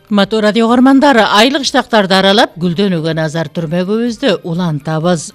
Урматтуу радио көрмандар, айлык штактарды аралап гүлдөнүүгө назар түрмөгүбүздү улантабыз.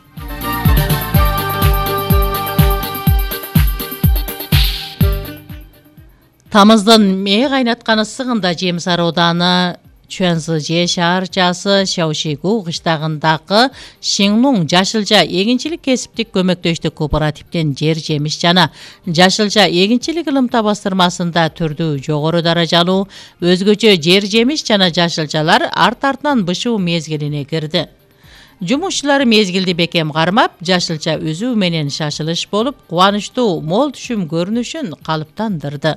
Тамыздын мээ кайнатканы сыгында Жемис Арооданы Чуанзыже шаарчасы Шаошигу кыштагындагы Шинлуң Жашылжа эгинчилик кесиптик көмөктөштүк кооперативден жер жемиш жана Жашылжа эгинчилик ылымта бастырмасында түрдүү жогору даражалуу өзгөчө жер жемиш жана жашылжалар арт-артынан бышуу мезгилине кирди. Жумушчулар мезгилди бекем кармап, жашылжа үзүү менен шашылыш болуп, кубанычтуу мол түшүм көрүнүшүн калыптандырды.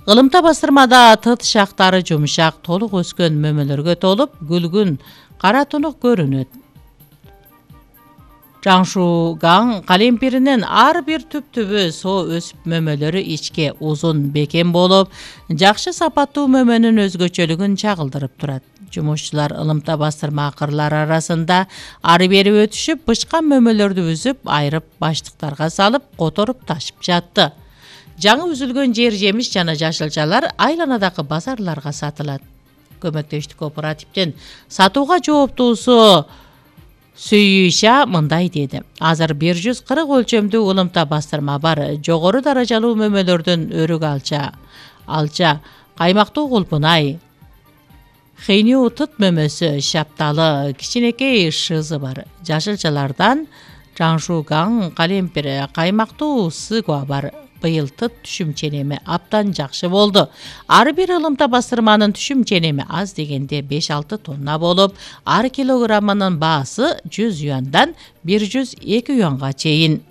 Ылымта бастырмада тыт шактары жумшак, толук өскөн мөмөлөргө толуп, гүлгүн кара тунук көрүнөт. Жаңшугаң калемпиринин ар бир түп-түбү соо өсүп мөмөлөрү ичке узун бекем болуп, жакшы сапаттуу мөмөнүн өзгөчөлүгүн чагылдырып турат. Жумушчулар ылымта бастырма акырлары арасында ары бери өтүшүп, бышкан мөмөлөрдү үзүп, айрып баштыктарга салып, которуп ташып жатты. Жаңы үзүлгөн жер жемиш жана жашылжалар айланадагы базарларга сатылат. Көмөктөштүк кооперативден сатууга жооптуусу Сүйүша мындай деди. Азыр 140 өлчөмдүү ылымта бастырма бар. Жогору даражалуу мөмөлөрдөн өрүк алча, каймактуу кулпунай, хейниу тыт мөмөсү, шапталы, кичинекей шызы бар. Жашылжалардан жаңшугаң калемпир, каймактуу сыгва бар. Быйыл тыт түшүм ченеми аптан жакшы болду. Ар бир ылымта бастырманын түшүм ченеми аз дегенде 5-6 тонна болуп, ар килограммынын баасы 100 юандан 102 юанга чейин.